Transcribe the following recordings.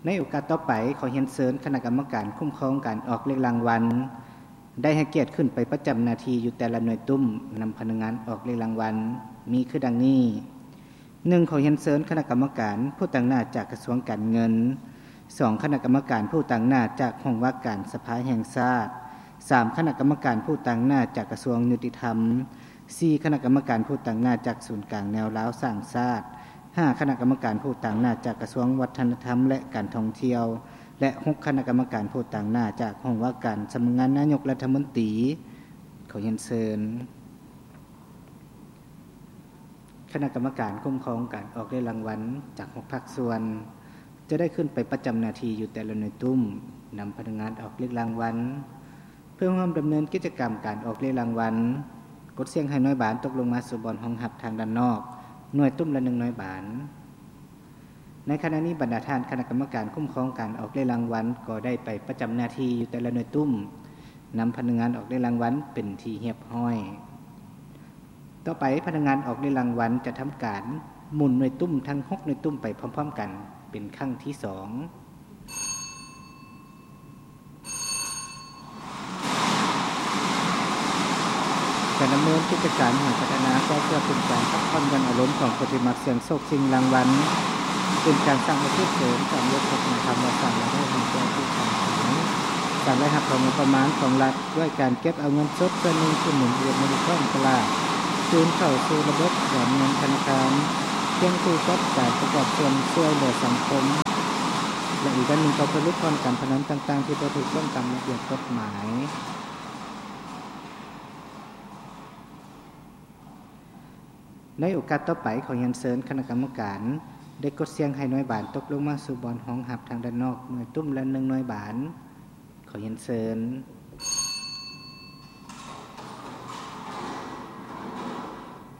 ໃນໂອກາດຕໍ່ໄປ, ຂໍຮຽນເຊີນຄະນະກຳມະການຄຸ້ມຄອງການອອກເລກລາງວັນ ໄດ້ໃຫ້ກຽດຂຶ້ນໄປປະຈຳໜ້າທີ່ຢູ່ແຕ່ລະໜ່ວຍຕຸ້ມ ນຳພະນັກງານອອກເລກລາງວັນ ມີຄືດັ່ງນີ້: ໜຶ່ງ ຂໍຮຽນເຊີນຄະນະກຳມະການຜູ້ຕາງໜ້າຈາກກະຊວງການເງິນ, ສອງ ຄະນະກຳມະການຜູ້ຕາງໜ້າຈາກຫ້ອງວ່າການສະພາແຫ່ງຊາດ, ສາມ ຄະນະກຳມະການຜູ້ຕາງໜ້າຈາກກະຊວງຍຸຕິທຳ, ສີ່ ຄະນະກຳມະການຜູ້ຕາງໜ້າຈາກສູນກາງແນວລາວສ້າງຊາດ, ຫ້າ ຄະນະກຳມະການຜູ້ຕາງໜ້າຈາກກະຊວງວັດທະນະທຳ ແລະ ການທ່ອງທ່ຽວ ແລະ ຫົກ ຄະນະກຳມະການຜູ້ຕາງໜ້າຈາກຫ້ອງວ່າການສຳນັກງານນາຍົກລັດຖະມົນຕີ. ຂໍຮຽນເຊີນຄະນະກຳມະການຄຸ້ມຄອງການອອກເລກລາງວັນຈາກຫົກພາກສ່ວນ ຈະໄດ້ຂຶ້ນໄປປະຈຳໜ້າທີ່ຢູ່ແຕ່ລະໜ່ວຍຕຸ້ມ ນຳພະນັກງານອອກເລກລາງວັນ ເພື່ອຮ່ວມດຳເນີນກິດຈະກຳການອອກເລກລາງວັນ. ກົດສ່ຽງໃຫ້ໜ່ວຍບານຕົກລົງມາສູ່ບ່ອນຮອງຮັບທາງດ້ານນອກ ໜ່ວຍຕຸ້ມລະໜຶ່ງໜ່ວຍບານ. ໃນຂະນະນີ້, ບັນດາທ່ານຄະນະກຳມະການຄຸ້ມຄອງການອອກເລກລາງວັນ ກໍໄດ້ໄປປະຈຳໜ້າທີ່ຢູ່ແຕ່ລະໜ່ວຍຕຸ້ມ ນຳພະນັກງານອອກເລກລາງວັນເປັນທີ່ຮຽບຮ້ອຍ. ຕໍ່ໄປ, ພະນັກງານອອກເລກລາງວັນຈະທຳການໝູນໜ່ວຍຕຸ້ມທັງຫົກໜ່ວຍຕຸ້ມໄປພ້ອມໆກັນເປັນຄັ້ງທີສອງ. ການດຳເນີນກິດຈະການຫາພັດທະນາກໍເພື່ອເປັນການພັກຜ່ອນຢ່ອນອາລົມຂອງຜູ້ທີ່ມັກສ່ຽງໂຊກຊິງລາງວັນ, ເປັນການສ້າງອາຊີບເສີມ, ການລົດພາສີທຳມະຊາດ ແລະ ໄດ້ໃຫ້ແກ່ຜູ້ຂາຍຂອງ, ການໄດ້ຮັບເອົາງົບປະມານຂອງລັດດ້ວຍການເກັບເອົາເງິນສົດສ່ວນໜຶ່ງທີ່ໝູນວຽນຢູ່ໃນທ້ອງຕະຫຼາດ ຄືນເຂົ້າສູ່ລະບົບການເງິນທະນາຄານ, ພຽງຄູ່ກັບການປະກອບສ່ວນຊ່ວຍເຫຼືອສັງຄົມ ແລະ ອີກດ້ານໜຶ່ງກໍເພື່ອຫຼຸດຜ່ອນການພະນັນຕ່າງໆທີ່ບໍ່ຖືກຕ້ອງຕາມລະບຽບກົດໝາຍ. ໃນໂອກາດຕໍ່ໄປ, ຂໍຮຽນເຊີນຄະນະກຳມະການໄດ້ກົດສ່ຽງໃຫ້ໜ່ວຍບານຕົກລົງມາສູ່ບ່ອນຮອງຮັບທາງດ້ານນອກ ໜ່ວຍຕຸ້ມລະໜຶ່ງໜ່ວຍບານ. ຂໍຮຽນເຊີນ.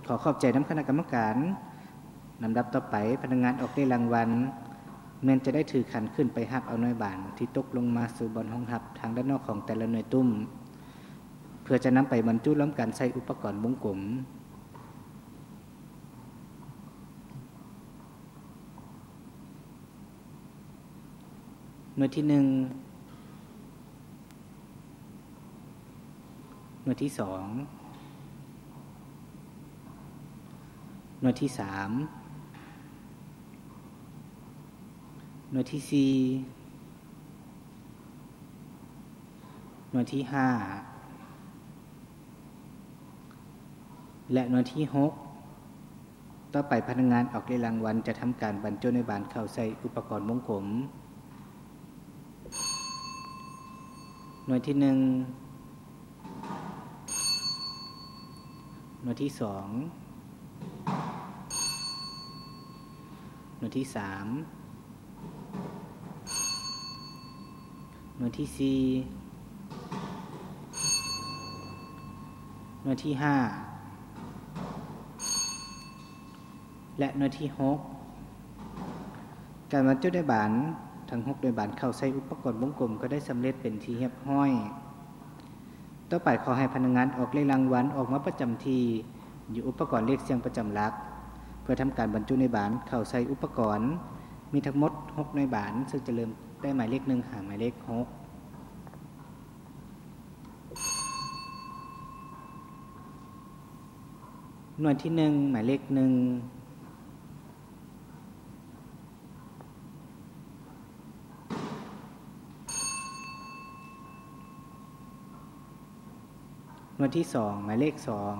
ຂໍຂອບໃຈນຳຄະນະກຳມະການ. ລຳດັບຕໍ່ໄປ, ພະນັກງານອອກເລກລາງວັນ ແມ່ນຈະໄດ້ຖືຂັນຂຶ້ນໄປຮັບເອົາໜ່ວຍບານທີ່ຕົກລົງມາສູ່ບ່ອນຮອງຮັບທາງດ້ານນອກຂອງແຕ່ລະໜ່ວຍຕຸ້ມ ເພື່ອຈະນຳໄປບັນຈຸລວມກັນໃສ່ອຸປະກອນວົງກົມ. ໜ່ວຍທີໜຶ່ງ, ໜ່ວຍທີສອງ, ໜ່ວຍທີສາມ, ໜ່ວຍທີສີ່, ໜ່ວຍທີຫ້າ ແລະ ໜ່ວຍທີຫົກ. ຕໍ່ໄປພະນັກງານອອກເລກລາງວັນຈະທຳການບັນຈຸໜ່ວຍບານເຂົ້າໃສ່ອຸປະກອນວົງກົມ. ໜ່ວຍທີໜຶ່ງ, ໜ່ວຍທີສອງ, ໜ່ວຍທີສາມ, ໜ່ວຍທີສີ່, ໜ່ວຍທີຫ້າ ແລະ ໜ່ວຍທີຫົກ. ການບັນຈຸໜ່ວຍບານທັງຫົກໜ່ວຍບານເຂົ້າໃສ່ອຸປະກອນວົງກົມກໍໄດ້ສຳເລັດເປັນທີ່ຮຽບຮ້ອຍ. ຕໍ່ໄປຂໍໃຫ້ພະນັກງານອອກເລກລາງວັນອອກມາປະຈຳທີ່ຢູ່ອຸປະກອນເລກສ່ຽງປະຈຳຫຼັກ ເພື່ອທຳການບັນຈຸໜ່ວຍບານເຂົ້າໃສ່ອຸປະກອນ. ມີທັງໝົດຫົກໜ່ວຍບານ, ເຊິ່ງຈະເລີ່ມແຕ່ໝາຍເລກໜຶ່ງຫາໝາຍເລກຫົກ. ໜ່ວຍທີໜຶ່ງ ໝາຍເລກໜຶ່ງ. ໜ່ວຍທີສອງ ໝາຍເລກສອງ.